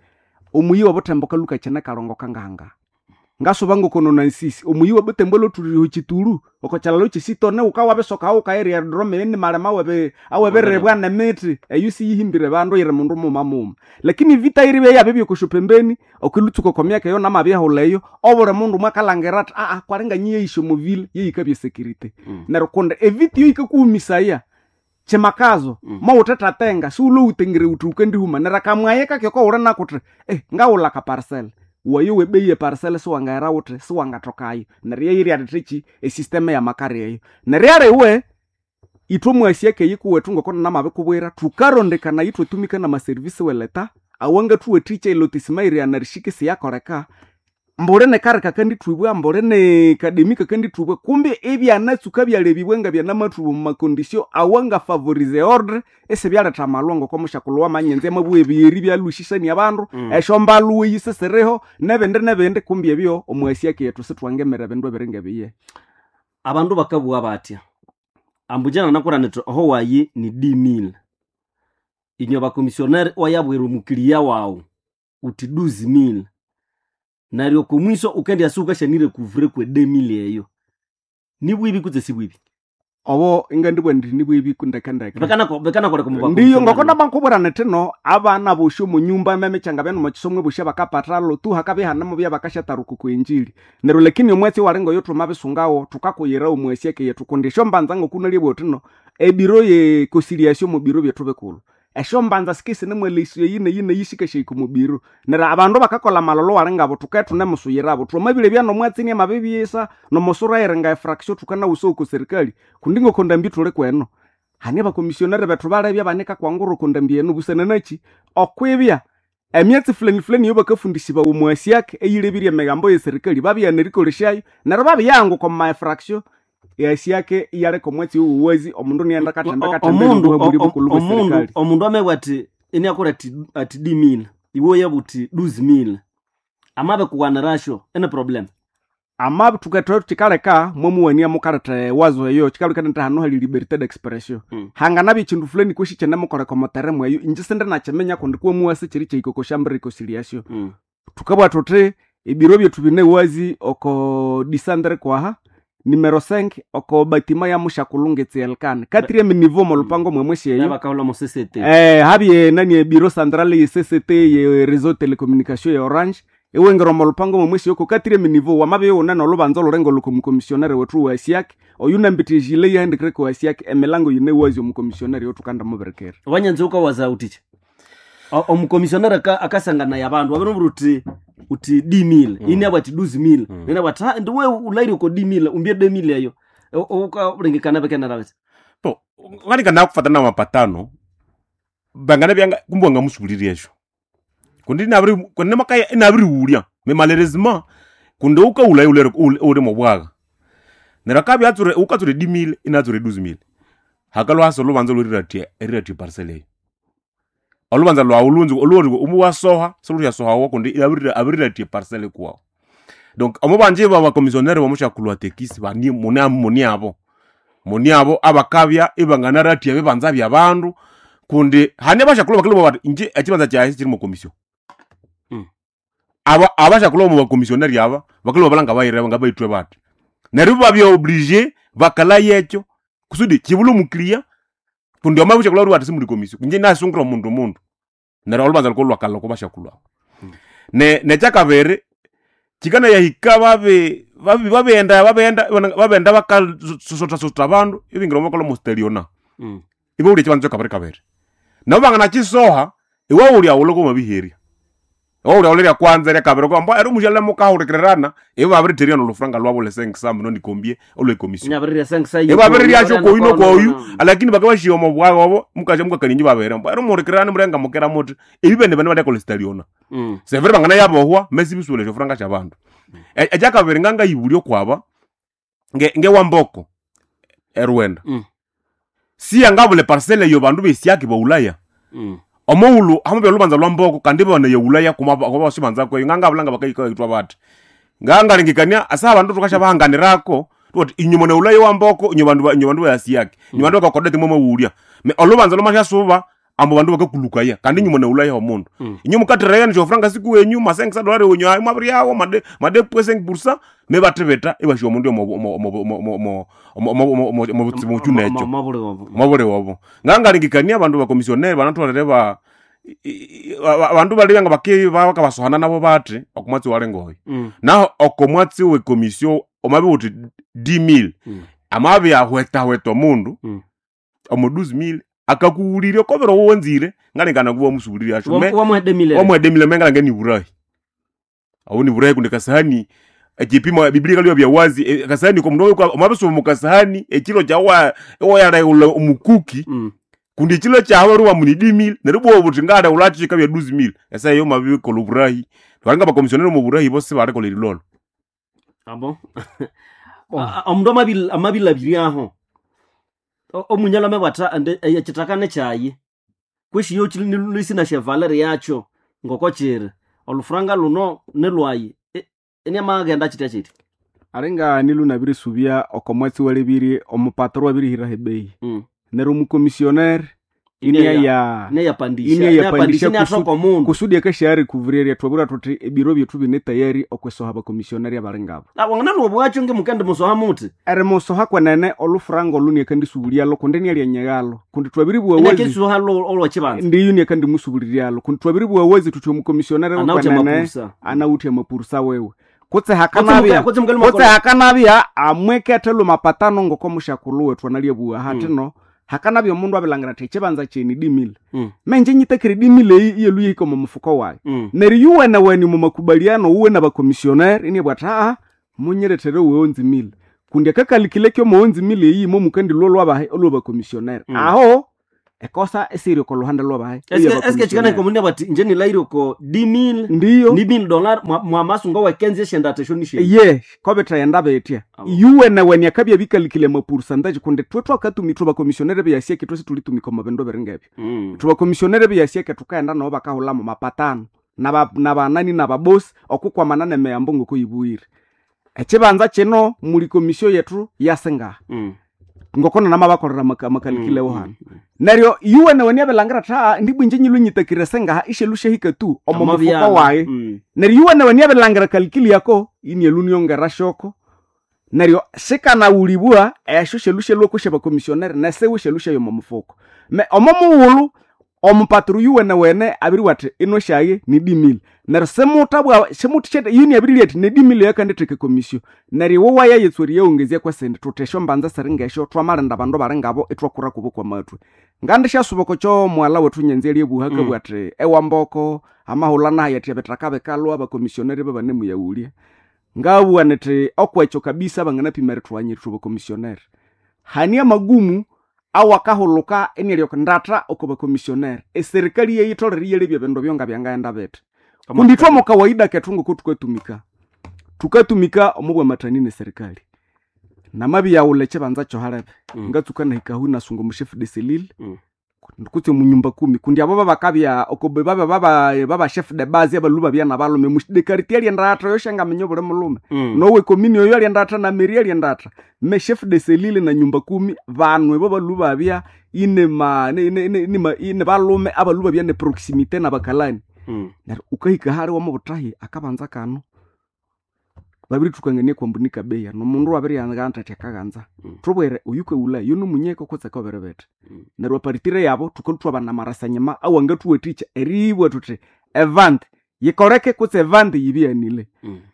Omuyi wobuthembo kalhuka kyine kalongo kangahanga ngasuba ngoko 96 omuyi wobuthembo lhothulire chitulu oko kyalalo kyesitone wukawabisoka wukairya aerodrome eni malema awebiribwa nemithi eyo siyihimbire bandu yiri mundu muma muma, lakini vita iribya yabibya pembeni okilhutsuka oko myaka eyo namabyahulha eyo obuli mundu mwakalhangira athi aa kwalinga nyiyeyisya omovile yeyikabya security. Neryo kundi evita eyo yikakuhumisaya kyimakazo mowuthethatenga siwulhowutengere wuthi wukandihuma, neryo akamwaye kakyo wuli nako wuthi ngaghulha akaparcel wayo webeyi eparcel siwangaghera wuthi siwangathokayo, neryo yeyiryathitheki esystem yamakari eyo. Neryo yaliwe ithwe mwasi akeyikuwethu ngoko namabikubwira thukarondekana ithwatumika namaservice weleta awangathuwathikya elotissement iri anarchique siyakoleka, mbuli nekari kakandithubwa, mbuli nekademi kakandithubwa, kumbe ibyanatsuka byalebibwa nga byanamathubwa omu macondition awangafavorize ordre isibyaletha amalwa ngoko mushakulhu wamanyenzi amabugha ebigheri byalhusisania abandu esyombalhuwe yisisiriho nebindi nebindi, kumbe ebyo omwasi akeyethu sithwangemera ebindu ebiringa ebiye. Abandu bakabugha batya ambu inje nanakurana nithi oho wayi ni 10000, inywe bakomisionari iwayabwira omukiliya wawu wuthi 12000, neryo okomwiso wukendyasa wukasyanire couvrir kwe 2000 eyo, nibwibi kutse sibwibi? Obo ingandibugha indi nibwibi ndekendeke. Bikanakoleka omu Ndiyo ngoko bakomisionari. namakubwira nithi no abana bosi omunyumba ememikyanga byane omukisomwe bosi abakapathalo tu hakabya ihanemu byabakashatharuka okwa injili, neryo lakini omwatsi owalinga oyo thumabisungawo thukakuyira omwasi akeyethu, kundi esyombanza ngokunalya uthi no ebiro ye conciliation omu biro byethu bikulhu esyombanza sikisinemwalesya eyi neyi neyi sikashahika omu biro, neryo abandu bakakolha amalolo walingabo thukabya thunemusuyirabo thwamabilebya nomwatsi iniamabibyisa nomusura eyiringa efraction thukanawusa oko serikali, kundi ngoko ndambi thuli kweno hane abakomisionari bethu balebya banika kwangura oko ndambi eno busana nakyi okwibya emyatsi fulani fulani eyobakafundisibawa omwasi ake eyilebirye emigambo yeserikali babighana erikolesyayo, neryo babiyanguka omu maefraction eyasi ake iyaleka omwatsi owuwazi omundu nighenda kathembe kathembe Omundu eribuha bukulhu bwe omundu serikali. Omundu amabugha athi iniakolha athi 10000, iwe oyabugha wuthi 12000, amabikuwanirasyo ene problem. Ama tuketho kikaleka mwamuwania mukaleta ewazo eyo kikaleka nti hano hali liberté d'expression. Hanganabya ekindu fulani kweshi kyenemukoleka omutere mweyo inje sindi nakiminya kundi kwamuwasi kiri kyahika okoshamba reconciliation. Tukabugha thuthi ebiro byethu bine wazi oko disandre kwaha numero 5 oko batima ya mushakulhu ngetsi elkana quatrième niveau molupango mwemwesi eyo. Bakahula mu CCT. Habye nani ebiro centrale ye CCT ye réseau télécommunication ya Orange iwengera omolupango mwemwesi oko quatrième niveau wamabya iwune nolubanza olurengo olukomukomisionere wethu wa siak oyu nambithe ejile yahendikire kwa siak emilango yine wazi omukomisionere yothukanda mubirikira. Wanyanza ukawaza uticha omukomisionere akasangana ya bandu wabiri uti uti 10000 ini abati 12000 nina bati "Ah, ndiwe ulairi uko 10000 umbie 2000 eyo ukalengekana bekenera bati Po nganika nakufatana na mapatano bangana byanga kumbe wangamusubuliria esho kundi nabiri kundi makaya inabiriwulya me malheureusement kundi ukaula ulere uli mobwaga nera kabya atsure ukatsure 10000 inatsure 12000 hakalo haso lubanza luriratie eriratie parcel eyo olubanza lwawu lunzi olwori umu wasoha soluryasohawo kundi abiriratie parcel kuwawo. Donc omubanje ba bakomissionnaire bamushakulwa tekisi bani mune muni abo muni abo abakabya ibanganaratia bibanza bya bandu kundi hane bashakulwa bakilwa bati inje ekibanza kyaye kiri mu commission. Aba abashakulwa mu bakomissionnaire aba bakilwa balanga bayire nga bayitwe bati neryo babya obligé bakala yekyo kusudi kibula omukiriya kundi omabushakulwa bati simuli commission inje nasungura omundu mundu neryo olubanza luko lwakalha ko bashakulwa. Ne nekyakabiri kikana yahika babe babe babenda babenda babenda bakasota bandu ibingira omukola musteliona. Ibo uli ekibanza kyakabiri kabiri nabo bangana kisoha iwe uli awulo komabiherya iwe uli awulo lya kwanza lya kabiri kwamba eri omushala mukahulikirana ibo babiriterya nolufuranga lwabo lesengisambu nonikombie olwekomisiyo nyabirirya sengisa ibo babiriryasyo koyu nokoyu lakini bakabashiya omo bwaga obo mukasha mukakaninyi babere mbu eri muhulikirana murenga mukera muthi ebi bene bene balyakola estaliona. Severe bangana yabohwa mesi bisule shofuranga sha bandu. Ekyakabiri ngangayibulya okwaba ngewamboko erwenda. Siya ngabule parcele eyo bandu besiaki baulaya. Omughulhu hamabya olubanza lwa mboko kandi bana yeulaya kumabasibanza kweyo ngangabulanga bakayitwa bati ngangalengekania asa abandu tukashabahanganirako tuti inyuma na ulaya wa mboko inyo bandu inyo bandu bayasiaki inyo bandu bakakodete mwamawulya me olubanza lomashasuba ambo bandu bakakulukaya kandi inyuma na ulaya omundu. Inyo mukatiraya nishofuranga siku wenyu masengisa dolari wenyu ayi mwabiryawo made made pweseng bursa me batibeta ibashiwa omundu omo butsibu nekyo mabule wabo ngangalengekania abandu bakomisioneri banatwalere ba abandu balibya nga baki bakabasohana nabo bati okumwatsi walengoyo. Naho okomwatsi wekomisio omabi uti 10000 amabi ahwetahweta omundu omo 12000 akakuwulirya okobera owonzire ngalengana kuba omusubuliria asho me wamwedemile wamwedemile mengalanga ni burahi awo ni burahi kundi kasahani ekipimo biblia kalio bya wazi kasahani komundu omabisoma mukasahani ekilo kyawa ewayaleula omukuki. Kundi ekilo kyawe ruwa muni 10000 neryo bwoba buthi ngaleula kika bya 12000 esa eyo mabikola oburahi balinga bakomisioneri omu burahi bosi balikola erilolo. Abo omundu amabilabiryaho omunyala amabwatha ande ekitakane kyayi kwishi yo lisina shevaleri yakyo ngoko kiri olufuranga luno nilwayi eniamaghenda kitya kiti. Aringa nilu nabirisubya oko mwatsi walebiri omupatro wabirihiraho ebeyi. Neryo omukomisionere inia ya neyapandisha Inia yapandisha neyapandisha niathoka omundu kusudi akashari kuvurirya twabura thuthi ebiro byethu bine tayari okwesoha abakomisioneri abalingabo. Wanganalwa bwakyo ngemukende musoha muthi Erimusoha kwenene olufuranga olu niakandisubulyalo kundi nialyanyeghalo kundi twabiribugha wazi inakisuha olwakibanza ndiyo niakandimusubuliryalo kundi twabiribugha wazi thuthi omukomisioneri anawuthe kwenene amapursa anawuthe amapursa wewe kutse hakanabya kutse mukali kutse hakanabya amwekethe mapatano ngoko mushakulhu wethu analyabuwa hatino hakanabya omundu abilangira athi ekibanza kyeni dimile. Menje nyitakire dimile eyi iyelu yihika omu mufuko wayi. Neryo yuwene weni mu makubaliano uwe nabakomisioneri inibwa athi aa munyirethere uwonzimile kundi akakalikile kyomuwonzimile eyi momukandilwa olwabahe olwabakomisioneri. Aho ekosa esiri oko luhande lwabahe eske chikana komundi bati nje nilaire oko 10000 ndiyo ni 1000 dollar mwamasunga wekenzi eshendatha esho nishe ye kobithayenda betya. Abo. Yuwene weni akabya bikalikile mapursantaji kundi thwe twakatumi thwabakomisionere beyasieke thwesi tulitumika omu bindu biringebyo. Thwabakomisionere beyasieke thukaghenda nabo bakahulhamu mapatano nabanani nababosi okukwamana nemiyambo ngoko yibuwire. Ekibanza kino muli komisyo yetu yasingaha. Ngoko namabakolera amakalikile hano. Neryo iwe niabilangira tha ndibwinje nyilwe nyitakire sengaha ishelu shahika tu omo mufuko wayi. Neryo iwe nawe niabilangira kalikili yako inielu niongera shoko. Neryo sikanawulibwa esyo shelu shelu okusha bakomisionere nesewe shelu shayo omo mufuko. Me omo mughulhu omupaturu yuwene wene abiriwa athi ino shaye ni dimili. Neryo simutabwa simuthishete yini abirilya athi nedimili yakanditheka komisyo. Neryo iwe wayayetswa eriyawongezya kwesindi thuthi esyo mbanza siringesyo twamalinda abandu baringabo ithwakura kubo kwamathwe. Ngandishasuba okwa mwala wethu nyanza eryebuha akabugha athi ewamboko amahulha nahayi athi ebithaka bikalwa abakomisioneri babanemuyawulya. Ngabugha nithi okwekyo kabisa banganapima erithwanya ithwe bakomisioneri. Hani amagumu awakahuluka iniryoka ndatha oko bakomisioneri. Eserikali yeyitholere iyalebya ebindu ebyo ngabyangaghenda bithi. Kundi ithwe omo kawaida kethu ngoko thukatumika. Thukatumika omo bwamathani neserikali. Namabiyaghulha ekibanza kyohalebe. Ngatsuka nahikahu inasunga omu chef de cellule kutse omunyumba kumi kundi abo babakabya oko baba baba baba chef de base abalu babya nabalhume de quartier alyendatha yoshangaminya obuli mulhume. Nowe komini oyo alyendatha na mairie alyendatha. Me chef de cellule na nyumba kumi banu ebo balu babya ine ma ne ne ne ne ine balhume abalu babya ne proximité nabakalani. Neryo ukahika hali wamabuthahi akabanza kano babirithukangania kwambunika beya nomundu wabiriyangana athi akaghanza. Thubwire oyukaghulha yonomunyeko kutse akabiribitha. Neryo aparitire yabo thukalwa thwabana amarasanyima awangathuwathikya eribugha thuthi evandi yikoleke kutse evandi yibighanile.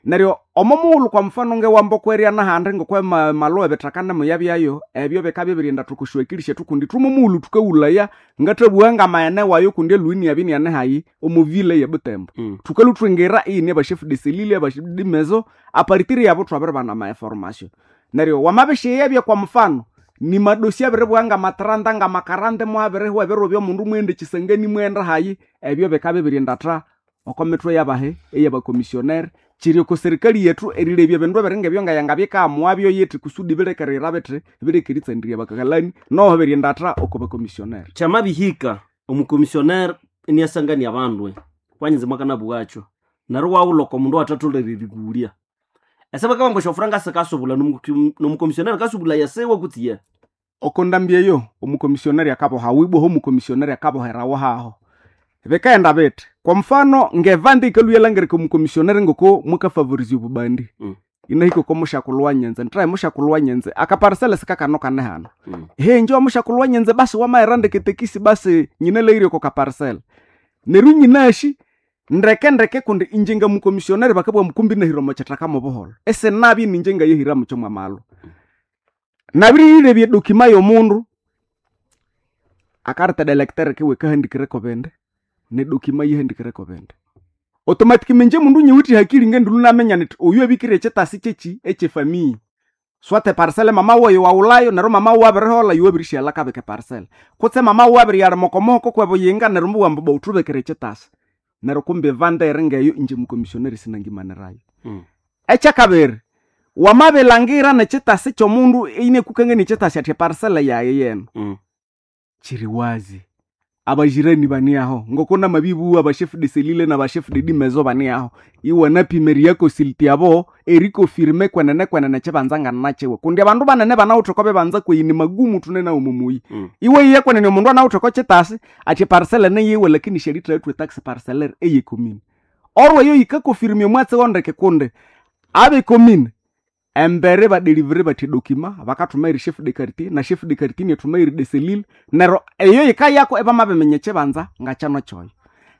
Neryo omo mughulhu kwa mfano ngewamboko erya nahandi ngokwe malhuwa ebithaka nemuyabyayo ebyo bikabya biryenda thukosyakili syethu kundi ithwe mughulhu thukaghulhaya ngathabugha ngamaghene wayo kundi elhuhi iniyabya iniyane hayi omo ville ye Butembo. Thukalwa ithwingira iyine aba chef de cellule aba chef de maison aparitire yabo thwabiribana ama information. Neryo wamabishighebya kwa mfano nimadosi abiribugha ngamatranta ngamakaranta mwabirihwa ebiro byomundu mwenda ekisangani mwenda hayi ebyo bikabya biryenda oko mithwe yabahe eyabakomisioneri. Kiri oko serikali yethu erilebya ebindu ebiringa ngayangabikamuwabyo yithi kusudi birekerera bithi birekeritsandirya bakakalani noho biryenda oko bakomisioneri. Kyamabihika omukomisioneri iniasangania abandu kwanyinza mwakanabughacho neryo iwaghulha oko mundu owathatholere erigulya. Ese bakabugha esyofuranga sikasubula nomukomisioneri akasubulaya siwe kutse ye? Oko ndambi eyo omukomisioneri akaboha wibwaho omukomisioneri akaboherawo haho. Bikaghenda bithi kwa mfano ngevandi yikalhwa iyalhangirika omukomisioneri ngoko mwakafavorizya obubandi. Inahika oko mushakulhu wa nyenze nithahi mushakulhu wa nyenze akaparisele sikakano kane hano. He inje wamushakulhu wa nyenze basi wamaghera ndeke tekisi basi nyinalhaghire oko kaparisele. Neryo nyinashi ndeke ndeke kundi inje ngamukomisioneri bakabugha ambu kumbi inahira omo kithaka mobuholho. Isinabya ininje ngayahira mukyo mwamalhu. Nabiriyilebya edokima yomundu akareta electeur kiwe kahandikireko bindi nedokima yihandikireko bindi. Automatically inje mundu nyiwithe hakili ngendulu naminya nithi oyu abikire ekyitasi kyeki ekyefamiya. Swate parcele mama wayo waghulhayo neryo mama wawu abiriholha iwe wabirishyalha akabika eparcele. Kutse mama wawu abiriyalima oko muhoko kwebuyinga neryo mubugha ambu wuthubikire ekyitasi. Neryo kumbe evanda eringeyo inje mukomisioneri sinangimanirayo. Ekyakabiri wamabilhangira nekyitasi kyomundu inakukangania ekyitasi athi eparcele yayi yenu. Kiri wazi abajirani bani aho ngoko namabibugha aba chef de cellule naba chef de maison bani aho iwanapima eriyakosiliti abo erikofirime kwenene kwenene ekibanza nganakyiwe kundi abandu banene banawithe oko bibanza kweyi ni magumu thune nawu mumuyi. Iwe yiye kwenene omundu anawithe oko kyitasi athi eparcele niyiwe lakini syalithathwa etax parcellaire eyekomine. Orwo eyo yikakofirima omwatsi wondeke kundi abekomine embere badelivere bathi edokima bakathuma eri chef de quartier na chef de quartier inyathuma eri de cellule neryo eyo yikayako ibamabiminya ekibanza ngakyano kyoyo.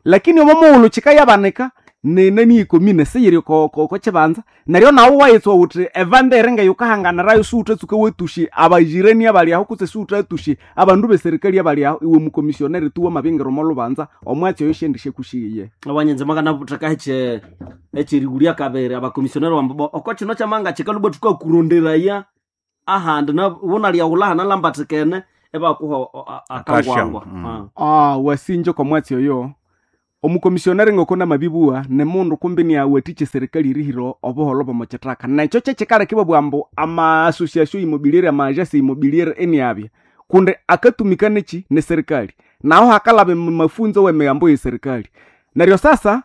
Lakini omo mughulhu kikayabanika nenani yekomine siyiri oko kibanza neryo nawu wayitswa wuthi evanda eringa yukahanganirayo siwuthatsuka watushi abajirani abali aho kutse siwuthatushe abandu beserikali abali aho iwe mukomisioneri tu wamabingira omo lubanza omwatsi oyo shendishakushiye. Awanyenze mwakanabutheka eche ekyerigulya kabiri abakomisioneri wambu oko kino kyamanga kikalubwa thukakuronderaya ahandi wunalyaghulha hanalambathikene ibakuha akangwangwa. Wasinja oko mwatsi oyo omukomisioneri ngoko namabibuwa nemundu kumbi niawathikya eserikali erihira obuholho bwomo kithaka nekyo kyekikaleka ibabugha ambu ama association immobiliere ama agence immobiliere eniabya kundi akatumika neki neserikali naho hakalhaba mafunzo wemigambo yeserikali. Neryo sasa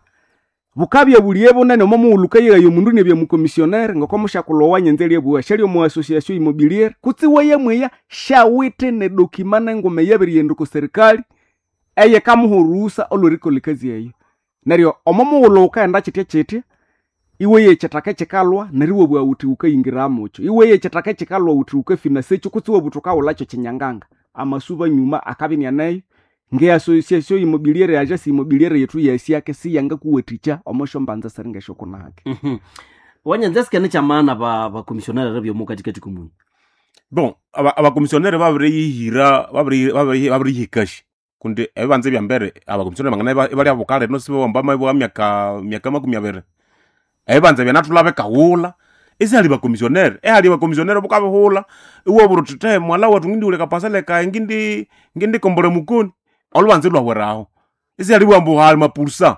Bukabya buliye bunene omo mughulhu ukayigha omundu inabya mukomisionere ngoko mushakulhu owanyenze eryabuwa syali omu association immobilière kutse iwayamweya syawithe nedokima nenguma eyabirighenda oko serikali eyikamuha oruhusa olwerikolha ekazi eyo. Neryo omo mughulhu wukaghenda kyithya kyithya iweya ekyithaka ekyikalhwa neryo iwabugha wuthi wukayingira mukyo. Iweya ekyithaka ekyikalhwa wuthi wukafinasa ekyo kutse iwabugha wuthi wukawulhakyo kyinyanganga. Amasuba nyuma akabya inianeyo nge association immobilière agence immobilière yethu yesiake siyangakuwathikya omo syombanza siringesyo kunahake. Wanyanza esike nikyamana bakomisionere byomo katikati komunyi. Bon, abakomisionere babiriyihira babirihikashi kundi ebibanza ebyambere abakomisionere bangana ibali abukale no sibawamba mabwa myaka 20. Ebibanza byanathulha bikaghulha isihali bakomisionere ehali bakomisionere bukabihulha iwabura uthi the mwala wethu ngindighulha akapasele kayi ngindikombolha mukoni olubanza ilhwahweraho isihali bugha ambu hali mapursa.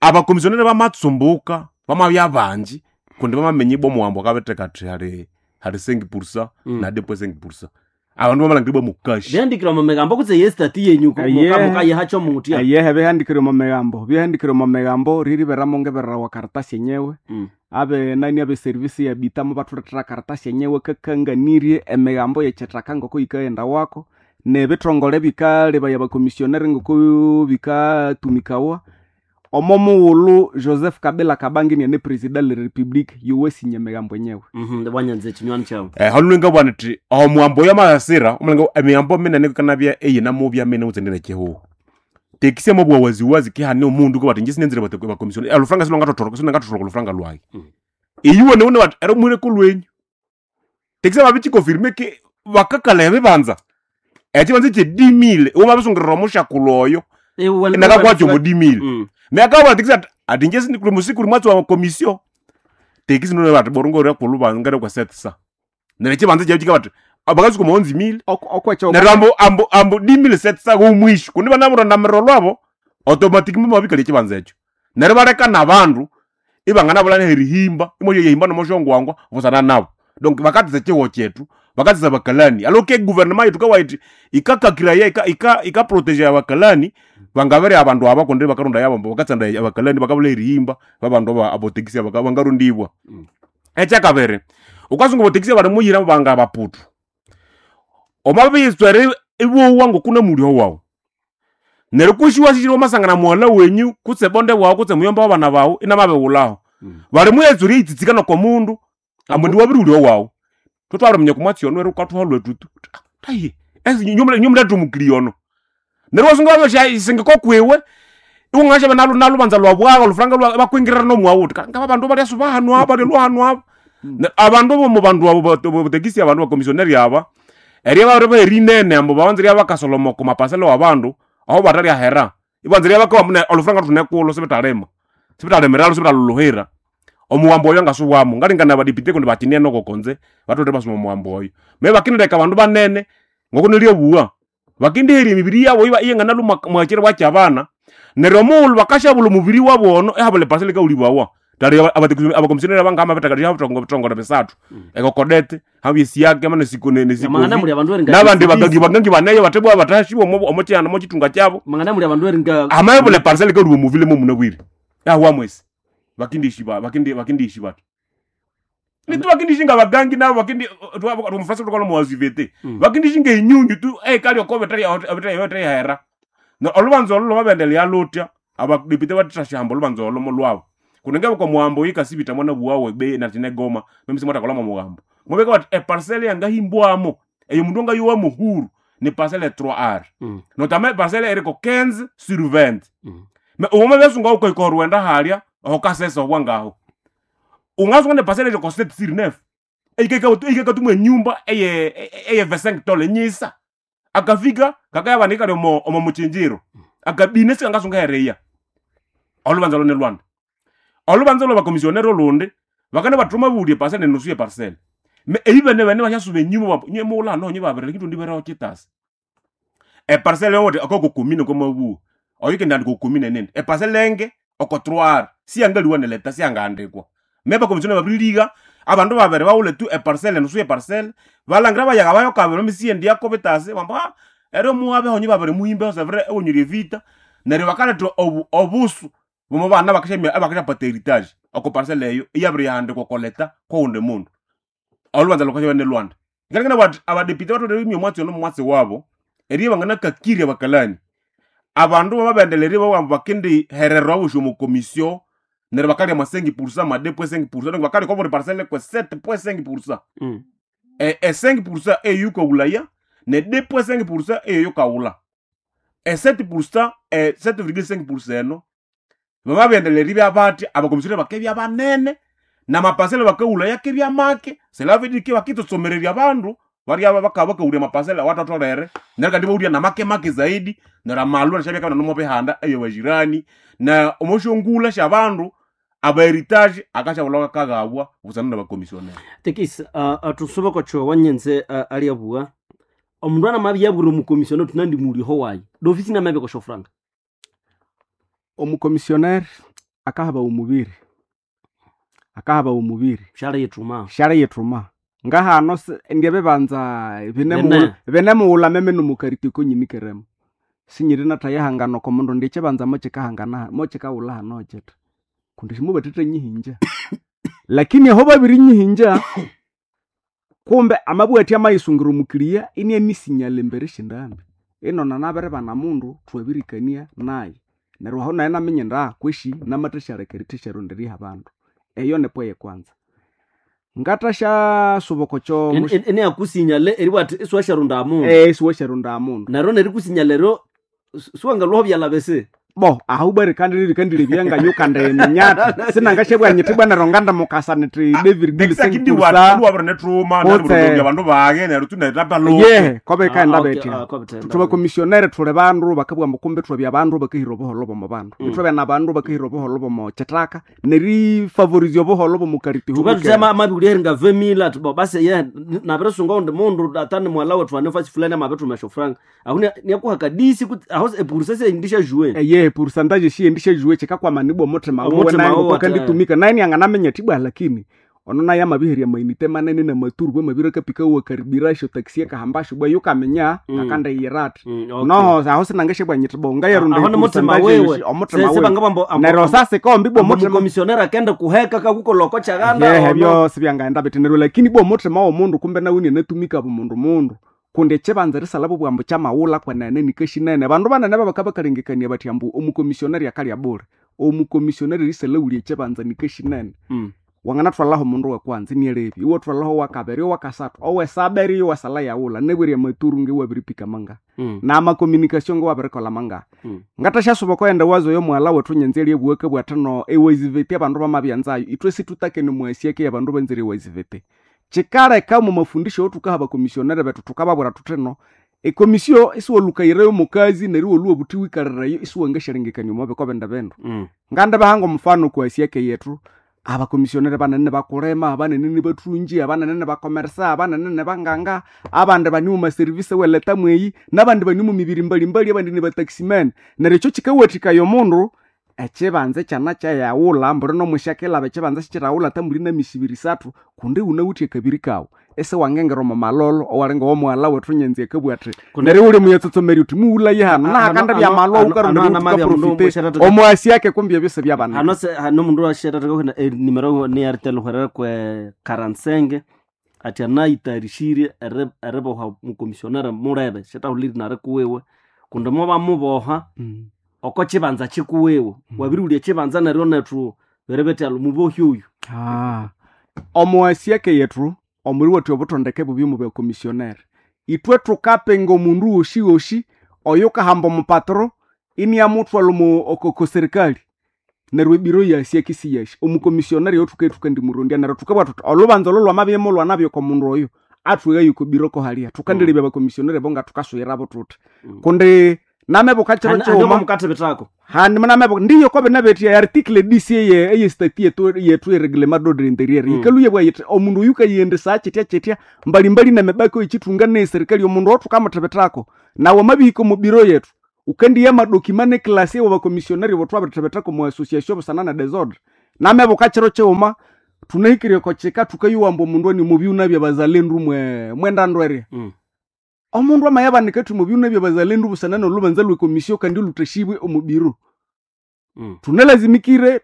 Abakomisionere bamatsumbuka bamabya bangi kundi bamaminya ibwa omuwambo akabitheka athi hali hali 5% na 2.5%. Abandu bamalhangira ibwa mukashi. Byahandikire omu migambo kutse yestati yenyu mukayihakyo mutya. Eyehe bihandikire omu migambo, bihandikire omu migambo ririberamu ngibererawa karatasi enyewe. Abe nani abe service ya bita mubathulethera karatasi enyewe kakanganirye emigambo yekyithaka ngoko yikaghenda wako nebithongole bikalebaya abakomisionere ngoko bikatumikawa. Omo mughulhu Joseph Kabila Kabange iniane president le republique yowasinya emigambo enyewe. Wanyanza ekinywani kyawu. Halulu ngabugha nithi omuwambo oyo amasira omulangira emigambo minene ikanabya eyinamubya minene kutse ndine kihugho. Tekisi amabugha waziwazi kihane omundu ko bathi inje sinenzire bakomisionere olufuranga silwangathothoroka olufuranga lwayi. Iyiwe niwune bathi ero muhireko lwenyu. Tekisi amabikikonfirme ki bakakalha ebibanza ekibanza ekye 10000 iwamabisungirira omushakulhu oyo inakakwakya omo 10000. Neryo tekisi athi ati inje sikuli mwatsi wa komisio. Tekisi nino bathi borunga oryakulhu ngere kwa 700. Neryo ekibanza kyabu kika bathi bakatsuka omo 11000. Okwekyo Neryo ambu ambu 10700 w'omwisho kundi banamuronda lwabo automatic mumabikalya ekibanza ekyo. Neryo baleka n'abandu ibanganabulha nerihimba imwasya yehimba nomosyongwangwa busana nabo. Donc bakathisa ekihugho kyethu bakathisa abakalani. Alo ke guvernema yethu kawayithi ikakakiraya ikaproteger abakalani bangabere abandu aba kundi bakarondaya abo bakatsanda abakalani bakabulha erihimba babandu abotekisi bangarondibwa. Ekyakabiri wukasunga abotekisi balimuyira banga baputu. Omwabiyitswera ibowa ngokuna mulyo wawu. Neryo kwisi iwasihira wamasangana mughalha wenyu kutse bonde wawu kutse muyomba wabana bawu inamabighulhaho. Balimuyetswera eriyitsitsikana oko mundu ambu indi wabirighulya owawu. Thutwabiriminya oko mwatsi ono neryo wukathuha lwetu tu tahi inywe muletha omukili ono. Neryo iwasunga wabisingika okwiwe iwungasyabya nalubanza lwabwagha olufuranga lwa ibakwingirira nomwawu wuthi ngaba bandu balyasuba hanu aba balyalhwa hanu aba. Abandu bomu bandu abo botekisi abandu bakomisioneri aba erya babiribaha erinene ambu babanza erya bakasoloma oko mapasele wabandu aho batalyahera. Ibanza erya bakawa olufuranga thunekulhu sibithalima sibithalimiralu sibitalhulhuhira. Omuwambo oyo ngasuwamo ngalingana abadepite kundi bakinene oko konze batholere ibasoma omuwambo oyo. Me bakindileka abandu banene ngoko nilyabuwa bakindiherya emibiri yabo iyanganalhwa mwakyi kyabana neryo omughulhu bakasyabulha omubiri wabu ono ihabulha epasele yikawulibawa. Tali abakomisionere abangamabitheka ebithongole bisathu ekokodete habya esiake Mangana muli abandu eringa nabandi bagangi bagangi baneyo bathibwa bathasibwa omo kyihanda omo kithunga kyabo. Mangana muli abandu eringa Amabulha eparcel yikawuliwa omuvile momunabwire yahwa mwesi bakindishiba bakindi bathi. Nitu bakindishinga bagangi nabo bakindi omufrasa thukalha omu bakindishinga enyunyu tu eyikali oko bitayahera. Olubanza olho lwamabirendelea luthya abadepite bathithasyahamba olubanza olho mulhwabo. Kundi ngabika omuwambo oyo yikasibita mwanabuwawu ebeyi nathina egoma memisi mwathakolha mwomuwambo. Mubika bathi eparcel yangahimbwamo eyo mundu angayowa muhuru ni parcel 3R. Notama eparcel eriko 15 sur 20. Wamabyasunga wukahika oruwenda halya aho kasesa obwangaho. Ungasunga neparcel eriko 7 sur 9. Eyikakathumwa enyumba eye 25 tole nyisa. Akafika kakayabana ikali omo mukyinjiro. Akabina sikangasunga heriya. Olubanza lho nilwanda. Olubanza lwabakomisionere olundi bakane bathuma babulya eparcel nenusu yeparcel. Eyi bene bene basyasuba enyuma inywe mughulha hano inywe babiri lakini ithundibereho kyitasa. Eparcel yowothi okoko komine kwamabuwa oyo ikendihandika okomine nindi. Eparcel enge oko 3R siyangaliwa neleta siyangahandikwa. Me bakomisionere babiriliga abandu babiri baghulhe tu eparcel enusu yeparcel balhangira bayaga bayo kabiri bamisiyendyako bitasi bambu eryo muhabeho inywe babiri muhimbeho severe iwunyire evita neryo bakaletha obusu. Bomo bana bakashamia abakashapata heritage oko parcelle eyo iyabirihandikwa koleta kowundi mundu. Olubanza lukashabya ne Lwanda. Ngalengana bati abadepite batholere imya omwatsi ono mwatsi wabo eriya banganakakirya bakalani. Abandu bamabendelere bawamba bakindi hererwa bosi omu commission neryo bakalya mwa 5% mwa 2.5% donc bakalya kwa buli parcelle kwe 7.5%. E 5% eyukawulaya ne 2.5% eyukawula. E 7% e 7.5% eno bamabendelere byabati abakomisiyoneri bakebya banene namapasele bakawulaya kebya make cela veut dire que bakitsomererya abandu barya bakaba bakawulya amapasele awathatholere neryo kandi bawulya namake make zaidi neryo amalwa nashabya kabana nomo bihanda eyo bajirani na omoshongula syabandu aba heritage akashabulwa kakaghabwa busana nabakomisiyoneri. Tekis tusube kocho wanyenze aliabua omundu anamabya yabwire omukomisioneri tunandi muliho wayi dofisi namabya kosho franga. Omukomisiyoneri akahaba omubiri, akahaba omubiri shara yithuma shara yithuma ngahano ndyebibanza Bine. binemughulha meme nomukariti konyini keremo sinyiri nathayihangana oko mundu ndi ekibanza mokikahangana mokikaghulha hano kiti kundi simubathethe nyihinja lakini aho babirinyihinja kumbe amabugha athi amayisungira omukiliya inianisinyala embere syendambi inona nabiribana mundu thwabirikania naye neryo aho naye naminya indi kweshi namathasyarekera erithasyaronderya abandu. Eyo nipo eyekwanza ngathasya okokyo Eneyakusinyale eribugha athi isiwasyaronda mundu isiwasyaronda mundu neryo nerikusinyala eryo siwangalwaho byalha bisi. Bo ahu bwa rikandilebya ngayukandiminyatha sinangasyabugha nyithi bwa neryo ngandamukasa nithi David Tekisakindi wabiri nethuma Kutse. neryo abandu bage neryo tunetapalo. Ye kobe ikaghenda betya. Thube thuli bandu bakabugha ambu kumbe ithwabya abandu bakahira obuholho bw'omu bandu. Ithwabya nabandu bakahira obuholho bw'omu kithaka nerifavorizya obuholho bw'omu kariti. Tuka amabiwulya eringa vemila ati bo basi ye nabirisunga undi mundu atani mwala wethu anefasi fulani amabithuma esyofuranga aho niakuha kadisi kuti aho epurusesi endisha juwe. Eye pourcentage shiyendisha chikakwamana omuthima wuwe Omuthima naye wuwe ngoko ati, akanditumika naye nianganaminya ati bwa lakini ono naye amabiherya amainite manene namaturu bwa mabiri akapika wuwe karibirasyo taxi ekahambasyo bwa yukaminya akandiyira ati. Okay. Noho aho sinangasyabwa nyiti bo ngayarunda Aho nimuthima pourcentage wewe yosi, omuthima wewe neryo sasikombi bwa omuthima omukomisionera akende kuheka kakukoloko kyaganda yehe ono. byosi byangaghenda bithi neryo lakini bwa omuthima w'omundu kumbe nawe inianatumika bumundu mundu kundi ekibanza erisalha bwambu kyamaghulha kwenene nikashinene abandu banene babaka bakalengekania bathi ambu omukomisioneri akalya bule omukomisioneri erisalha ekibanza nikashinene. Wanganathwalhaho omundu wekwanza inialebya iwathwalhaho owakabiri owakasathu owesaba eriyo iwasalha yaghulha nabwerya amaturu ngiwabiripika mangahi namakominikasyo ngiwabirikolha mangahi. Ngathashyasuba okoghenda wazo yomughalha wethu nyanza eryabuwa akabugha athi no ewaziveti abandu bamabyanzayo ithwe situtakene omwasiake yabandu banzire ewaziveti kikaleka omu mafundisho awathukaha abakomisionere bethu thukababwira thuthi no ekomisio isiwalhukayireyo omukazi neryo iwalhuwa obuthi wikalirayo isiwangasyalengekania omo biko bindi bindu. Ngandibahanga omufano okwasiake yethu abakomisionere banene bakulima abanene nibathungi abanene nibakomersa abanene nibanganga abandi bani mu maserivisi eweleta mweyi nabandi bani mu mibiri mbalimbali abandi nibataximan neryo ekyo kikawathikaya omundu ekibanza ekyana kyayaghulha mbuli nomwisyakilaba ekibanza sikyiraghulha ata mbuli namisibiri isathu kundi wunawithe akabiri kawu isiwangingira omo malolo owalinga owomughalha wethu nyanza akabugha athi neryo wuli muyatsotsomerya uthi mughulaye hano nahakandi byamalwa wukarondera wuthi wukaprofite omwasiake kumbi ebyo sibyabanika. Hano se hano mundu washetataka nimero ni Airtel hwerera kwe 45 ati anayitayarishire eriboha mukomisionera mulebe shetahuliri nari kuwiwe kundi mubamuboha oko kibanza kikuwiwe wabiriwulya ekibanza neryo nethu beribetya mubohi oyu. Omwasiake yethu omuli wethu obuthondeke bubi mu bakomisionere ithwe thukapinga omundu woshiwoshi oyukahamba omupatro iniamuthwalha omu oko serikali neryo ebiro yasiake isiyashi omukomisioneri oyo thukandimurondya neryo thukabugha thuthi olhubanza olho lwamabya mulwanabya oko mundu oyo athwighayo oko biro kohalya thukandilebya abakomisioneri abo ngathukasuyirabo thuthi kundi namebuka kiro kighuma mukathibithako handi munamebuka ndiyo kwabinabetya article dc eye eye stati yetu yetu ereglement d'ordre intérieur yikaluye bwa yithi omundu oyu kayendesa kyitya kyitya mbalimbali nemibako ekithunga ne serikali omundu owo thukamuthibithako nawe amabihika omu biro yetu ukandiya amadokima neklasi ewa bakomisionari abo thwabirithibithako mu association busana na desordre namebuka kiro kighuma thunahikirye oko kika thukayuwamba omundu ani omubyuna byabazalendu mwe mwendandu erya. Omundu amayabanika athi omubyuna byabazalendu busana nolhubanza lwekomisio kandi oluthashibwe omu biro. Tunalazimikire.